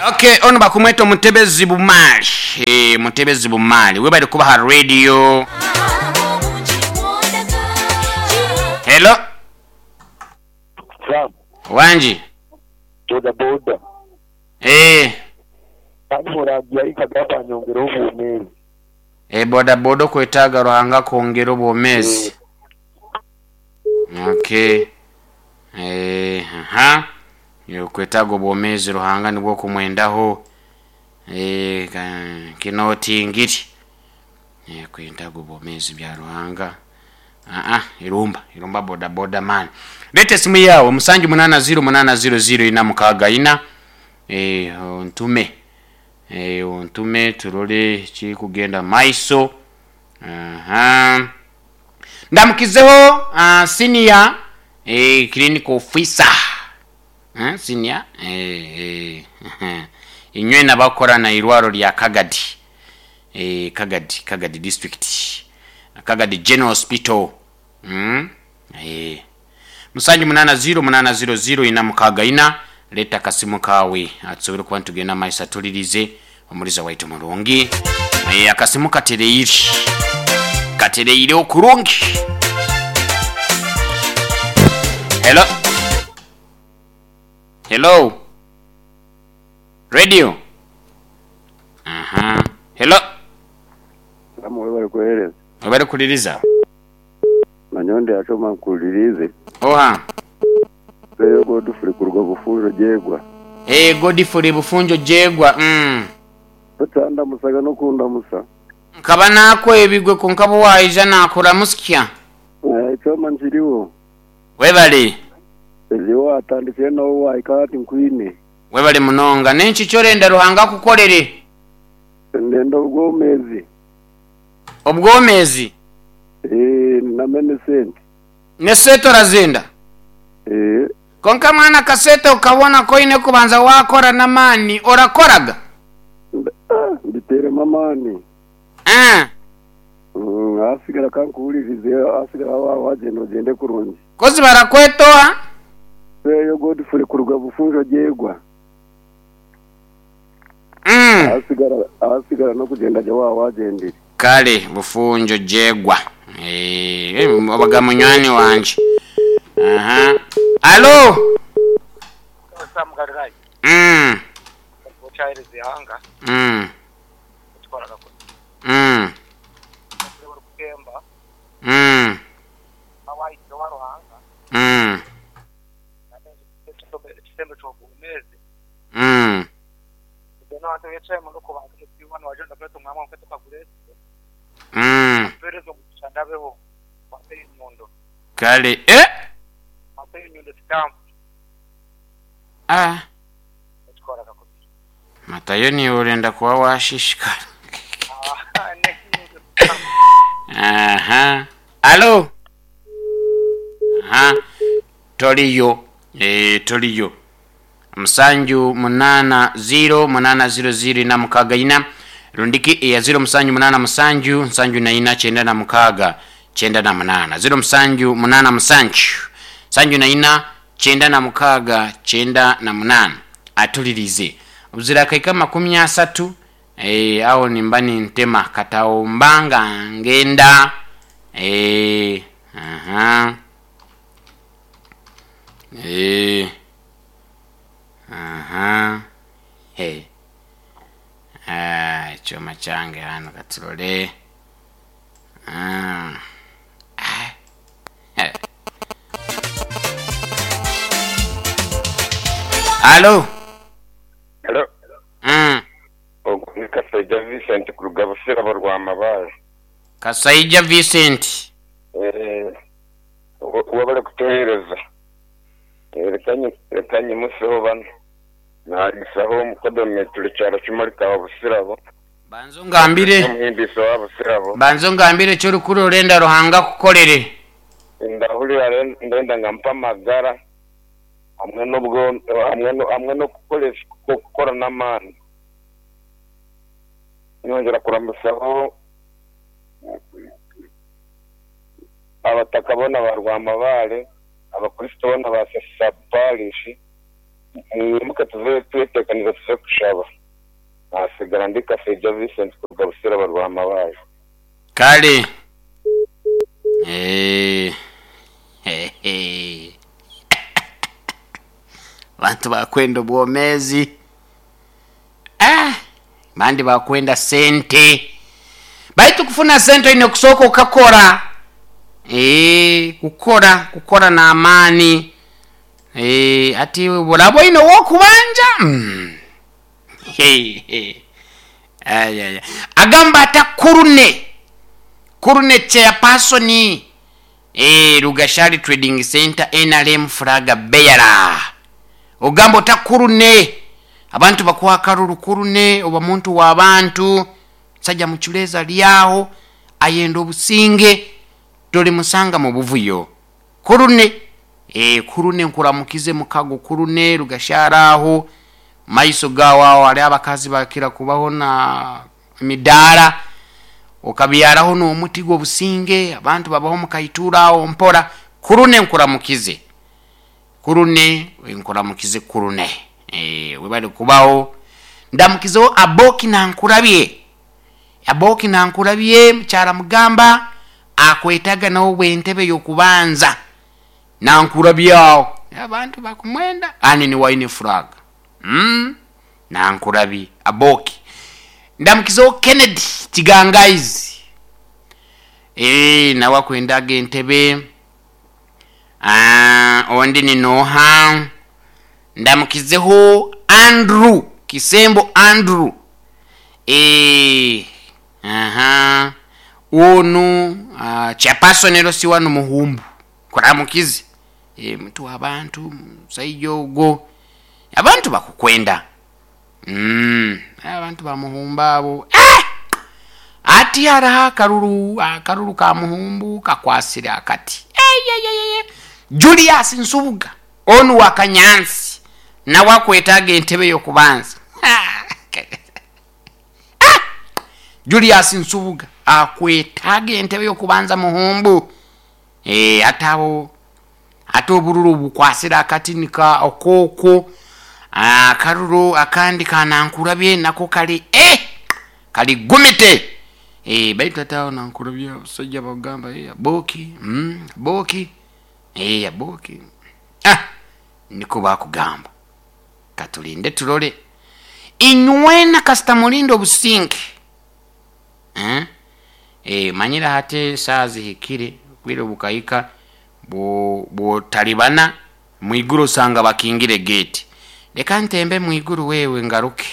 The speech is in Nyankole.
Okay, onu bakumweta Omutebezi Bumaali. Eh, Mutebezi Bumaali. Webale kuba ha radio. Hello. Sam, Wangi. boda boda. Eh. Kandi murangi aikagamba anyongere obwomeezi. Eh, boda boda okwetaaga Ruhanga akwongere obwomeezi. Okay. Eh, aha. Okwetaaga obwomeezi Ruhanga nibwo okumwendaho. Eh, kinotingiri. Eh, kwetaaga obwomeezi bya Ruhanga. Aa, irumba, irumba boda boda man. Leeta esimu yaawe musanju munaana ziro munaana ziro ziro ina mukaaga ina. Eh, ontume. Eh, ontume turole ekirikugenda maiso. Aha. Ndamukizeho uh, senior eh, clinical officer. Eh, senior eh, eh, inywe nabakora na irwaro lya Kagadi. Eh, Kagadi, Kagadi district. Kagadi General Hospital. Mm? Eh. Musanju munana ziro munana ziro ziro ina mukaga ina leta akasimu kawe atusobole kuba nitugenda maiso atulirize omuliza waitu murungi. Eh, akasimu katereire. Katereire okurungi. Hello. Hello. Radio. Aha. Hello. Sam webale kuhereza. Webale kuliriza. Nanyowe ndi nkulirize. Oha. Eyo Godfrey kuruga Bufunjo Jegwa. Eh, Godfrey Bufunjo Jegwa. Mm. Otandamusaga n'okundamusa. Nkaba nakwebigwe konka bu waija nakuramutsya. Eh, Ekyoma nkiriho. Webale. Eziho watandikire nawe wahika hati nkwine. Webale munonga. N'enki ky'orenda Ruhanga akukorere? Ndenda obwomezi. Obwomezi? Eh, name n'esente. N'esente orazenda? Eh. Konka mwana akasente okabona ku oine kubanza wakora n'amaani, orakoraga? Ah, mbiteremu amaani. Ah. Mm, ahasigara ka nkuhuririze, ahasigara waaba wagyenda ogyende kurungi. Kozi barakweta oha? Eyo Godfrey kuruga Bufunjo Jegwa. Mm. Ahasigara ahasigara n'okugyenda gye waaba wagyendire. Kale Bufunjo Jegwa. Eh, obaga munywani wangye. Aha. Alo. Sam Galilaya Mm. okyahereza eihanga Mm. otwara gakoni Mm. orikutemba Mm. awahikire owa Ruhanga Mm. ekisembo ky'obwomeezi Mm. then abantu becaye muno kubanza mutibona wagenda kuri tumwamwa mwe tukaguretse Mm. tuhereze omugisha ndabeho wampe enyundo Kale eh wampe enyundo sitampu ah ekikora kakubi matayo niiwe orenda kuba washishikara. Ah, n'enyundo sitampu Aha. Alo. Aha. Toriyo. Eh, toriyo. Musanju munana ziro munana ziro ziro ina mukaga ina rundiki eya ziro musanju munana musanju nsanju na ina kyenda na mukaga kyenda na munana ziro musanju munana musanju nsanju na ina kyenda na mukaga kyenda na munana atulirize obuzira akaika 30 eh, aho nimba nintema kataomba nga ngenda eh, aha eh. Aha. Hey. Ah, ekyoma kyange hano katurore. Ah. Ah. Eh. Alo. Hello. Mm. Ogu ni Kasaija Vincent kuruga Busirabo Rwamabaare. Kasaija Vincent. Eh, webale kutuheereza. Eh, reka nyimuseho banu. Naariisaho omukodomi turi kyaro kimwe rikaba Busirabo. Banza ongambire. Omuhimbiisa wa Busirabo. Banza ongambire eki orikura orenda Ruhanga akukorere. Ndahurira ndenda ngu ampe amagara hamwe n'obwo hamwe n'okukoresa okukora n'amaani. Nyongyera kuramusaho abataka boona ba Rwamabaare, abakristo boona ba Sasa Parish. Mwimuke tuve tweteekanize tuze kushaba. Naasigara ndi Kasaija Vincent kuruga Busiraba Rwamabaare. Kale. Eeh. Abantu bakwenda obwomeezi. Ah! Abandi bakwenda sente. Baitu kufuna sente oine kusooka okakora. Eeh, kukora, kukora n'amaani. Eeh, hati oraba oine ow'okubanja? Mm. Ayaya. Agamba ata Kurune, Kurune chairperson eh, Rugashari Trading Center NRM flag bearer. Ogamba ota Kurune, abantu bakuha akaruru Kurune oba muntu wa bantu, musaija mucureezi ari aho ayenda obusinge, torimusanga mu buvuyo. Kurune, eeh Kurune nkuramukize mukago Kurune Rugashari aho, mumaiso gaawe aho hariho abakazi bakira kubaho na emidaara, okabyaraho n'omuti gw'obusinge, abantu babaho mukaituura aho mpora. Kurune nkuramukize, Kurune nkuramukize Kurune, eeh webare kubaho. Ndamukizeho Aboki Nankurabye, Aboki Nankurabye mukyara Mugamba akwetaga nawe bw'entebe y'okubanza. Nankurabye aho abantu bakumwenda ani niwe aine flag mm Nankurabye Aboki. Ndamukizeho Kennedy Kigangaizi eeh nawe akwendaga entebe. Aah ondi ni noha? Ndamukizeho Andrew Kisembo Andrew eeh aha onu chairperson LC wanu Muhumbu nkuramukize eeh muntu w'abantu musaija ogwo abantu bakukwenda umm abantu ba Muhumbu abo eeh hati hariho akaruru akaruru ka Muhumbu kakwasire akati eyeyeyeye Julius Nsubuga Onu wa Kanyansi nawe akwetaaga entebe y'okubanza. Julius Nsubuga akwetaaga entebe y'okubanza Muhumbu. Eh, ate abo ate obururu obukwasire akati nika okokwo akaruru akandi ka Nankurabye nako kali eh kali gumite eh, baitu ate aho Nankurabye abasajja bagamba eh, aboki aboki Eeh Aboki ah nikwo bakugamba. Katulinde turole. Inywena kasita mulinde obusinge. Eh eh manyire hati esaaha zihikire obwire bukahika bwotalibana mwiguru osanga bakingire gate. Leka ntembe mwiguru wewe ngaruke.